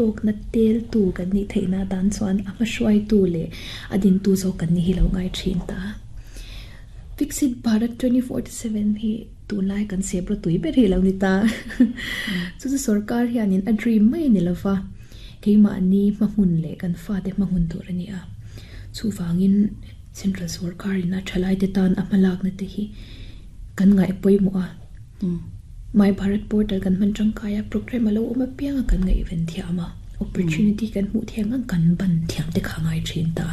hlawkna teltu kan nih theihna atan chuan a hmahruaitu leh a dintu zawk kan ni hi lo ngai thin ta. Viksit Bharat 2047 hi tunlai kan sep rawh tui ber hi lo ni ta. Chu chu sorkar hianin a dream mai a ni lo va, keimahni hmahmun leh kan fate hmahmun tur a ni a. Chuvangin Central sorkarin a thalaite tan a hmalakna te hi kan ngaih pawimawh a. My Bharat portal kan hman tangkai a, program a lo awm apiang a kan ngaihven thiam a, opportunity kan hmuh thiang ang kan ban thiam te kha ngai thin ta.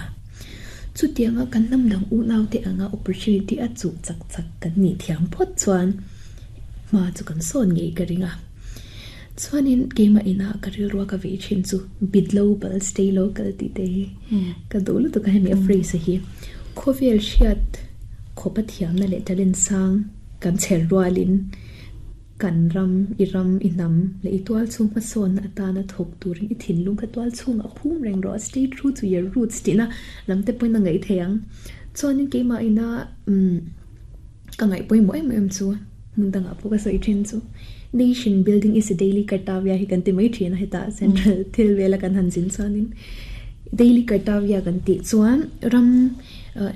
Chutianga kan hnam dang unau te anga opportunity a chuh chak chak kan nih thiam phawt chuan hma chu kan sawn ngei ka ring a. Chuanin keimah inah ka rilrua ka vei thin chu be global stay local tih te hi ka duh lutuk a hemi a phrase hi. Khawvel hriat khawpa thiamna leh talent sang kan chher rualin kan ram, i ram, i hnam leh i tual chhung hmasawnna atana thawk turin i thinlung kha tual chhungah phum reng rawh, stay true to your roots tihna lam te pawhin a ngaih thei ang. Chuanin keimah ina umm ka ngaih pawimawh em em chu hmun dangah pawh ka sawi thin chu nation building is a daily kartavya hi kan ti mai thin a hetah central thil vela kan han zin chuanin daily kartavya kan tih chuan ram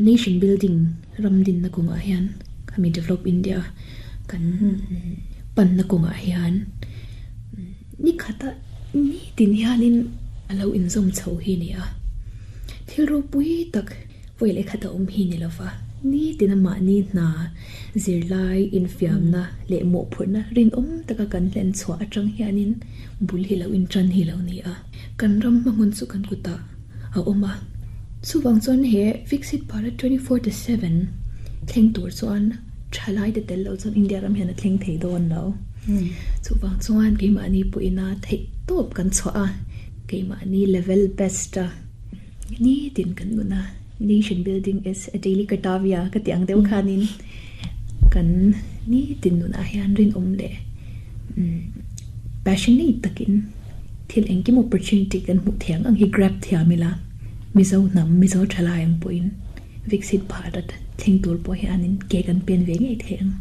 nation building Ram dinna kawngah hian khami develop India kan panna kawngah hian ni khata nitin hianin a lo inzawm chho hi a ni a. Thil ropui tak vawi leh khat a awm hi ni lova, nitin a mahni hna zirlai infiamna leh mawhphurhna rinawm taka kan hlen chhuah atang hianin bul hi lo intan hi lo ni a. Kan ram hmahmun chu kan kutah a awm a. Chuvang chuan he Viksit Bharat 2047 thleng tur chuan thalai te tel lo chuan India ram hian a thleng thei dawn lo. Chuvang chuan keimahni pawhin a theih tawp kan chhuah a, keimahni level best a nitin kan nun a, nation building is a daily kartavya ka tih ang deuh khanin kan nitin nunah hian rinawm leh passionate takin Thil engkim opportunity kan hmuh thiang ang hi grab thiam ila, Mizo hnam, Mizo thalai ang pawhin Viksit Bharat thleng tur pawh hianin ke kan pen ve ngei thei ang.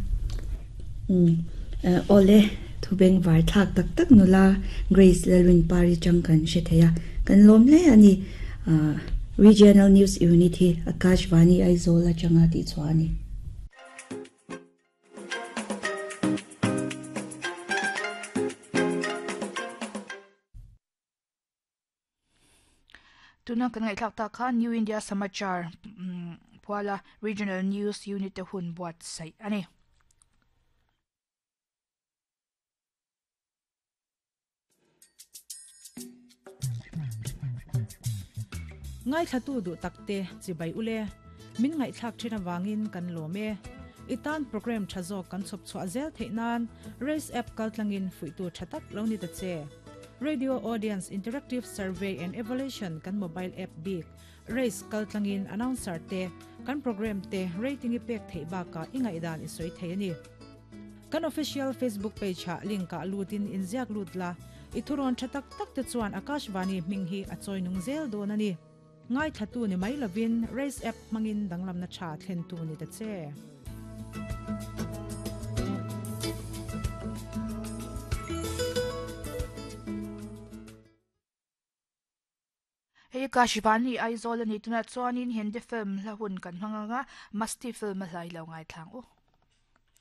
Umm awle, thu beng var thlak tak tak nula Grace Lalrinpari chang kan hre thei a, kan lawm hle a ni. Regional News Unit hi Akashvani Aizawl atanga tihchhuah a ni. Tuna kan ngaihthlak tak khan New India Samachar puala Regional News Unit te hun buatsaih a ni. Ngaithlatu duh takte chibai ule, min ngaihthlak thin avangin kan lawm e. I tan program tha zawk kan chhawp chhuah zel theih nan Race app kaltlangin fuihtu tha tak lo ni ta che. Radio Audience Interactive Survey and Evaluation kan mobile app bik Race kaltlangin announcer te, kan program te rating i pek theih bakah i ngaihdan i sawi thei a ni. Kan official Facebook page ah link ah lut in inziak lut la, i thurawn tha tak tak te chuan Akashvani hming hi a chawi nung zel dawn a ni. Ngaithlatu ni mai lovin Race app hmangin danglamna tha thlentu ni ta che. Hei ka Shivani Aizawl a ni tunah chuanin Hindi film hla hun kan hmang ang a, Masti film a hlai lo ngaithlang u.